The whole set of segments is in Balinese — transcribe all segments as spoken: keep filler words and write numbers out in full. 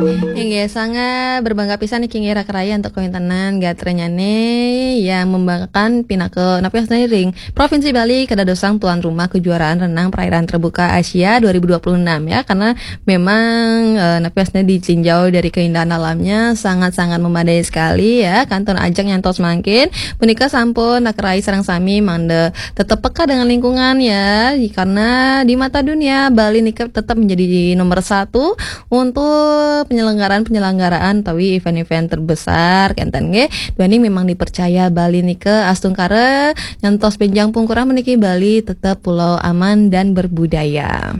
Inggih, sangat berbangga pisan niki nggih Raka Rai antuk kawéntenan gatranyane yang membanggakan pinaka napi astina ring Provinsi Bali kadadosang tuan rumah kejuaraan renang perairan terbuka Asia dua ribu dua puluh enam ya, karena memang eh, napi astina ditinjau dari keindahan alamnya sangat-sangat memadai sekali ya, kantun ajeng nyantos mangkin. Punika sampun Raka Rai sareng sami mangda tetap peka dengan lingkungan ya, karena di mata dunia Bali nika tetap menjadi nomor satu untuk penyelenggaraan-penyelenggaraan utawi event-event terbesar kenten nggih. Duaning memang dipercaya Bali nika astungkara nyantos benjang pungkurah meniki Bali tetap pulau aman dan berbudaya.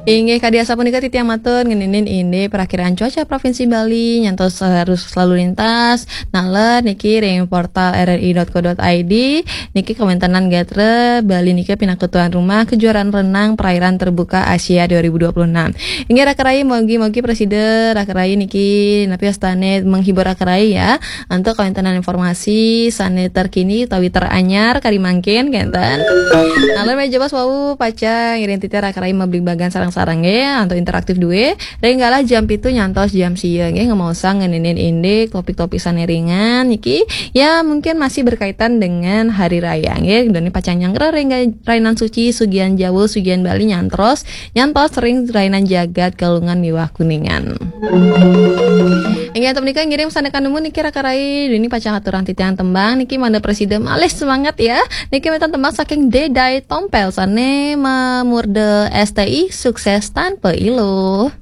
Inggih kadi asapunika titiang matur ngeninin indik perakiraan cuaca Provinsi Bali nyantos arus lalu lintas naler niki ring portal R R I dot co dot I D. Niki kawéntenan gatra Bali nika pinaka tuan rumah kejuaraan renang perairan terbuka Asia dua ribu dua puluh enam. Inggih Raka Rai, mogi-mogi prasida Raka Rai niki napi astane menghibur Raka Rai ya. Antuk kawéntenan informasi sane terkini utawi teranyar kadi mangkin kenten. Naler meja bos wau pacang ngiring titiang Raka Rai mabligbagan sareng-sareng nggih antuk interaktif due. Ring galah jam pitu nyantos jam sia nggih ngemaosang ngeninin indik topik-topik sane ringan niki ya mungkin masih berkaitan dengan hari raya nggih. Dene pacang nyanggra ring rainan suci sugian Jawa sugian Bali nyantros nyantos ring rainan jagat Galungan miwah Kuningan. Inggih antuk menika ngiring sandekan nemu niki Raka Rai dene pacang aturang titiang tembang niki mangda prasida malih semangat ya. Niki wénten tembang saking Dedai Tompel sane mamurda S T I sukses tanpa iluh.